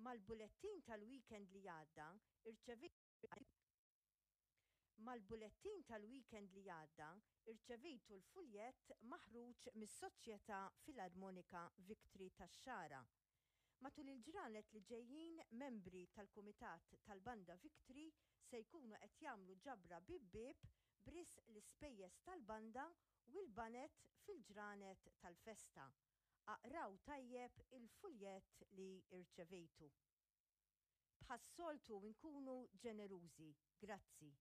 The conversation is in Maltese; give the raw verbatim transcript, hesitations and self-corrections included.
Mal-bulettin tal-weekend li għadda irċevejt Mal-bulettin tal-weekend li għadda irċevejtu l-fuljett maħruġ mis-Soċjetà Filarmonika Victory tax-Xagħra. Matul il-ġranet li ġejjin, membri tal-Kumitat tal-Banda Victory se jkunu qed jagħmlu ġabra bieb bieb b'risq l-ispejjeż tal-banda u l-baned fil-ġranet tal-festa. Aqraw tajjeb il-fuljett li irċevejtu. Bħas-soltu nkunu ġenerużi. Grazzi.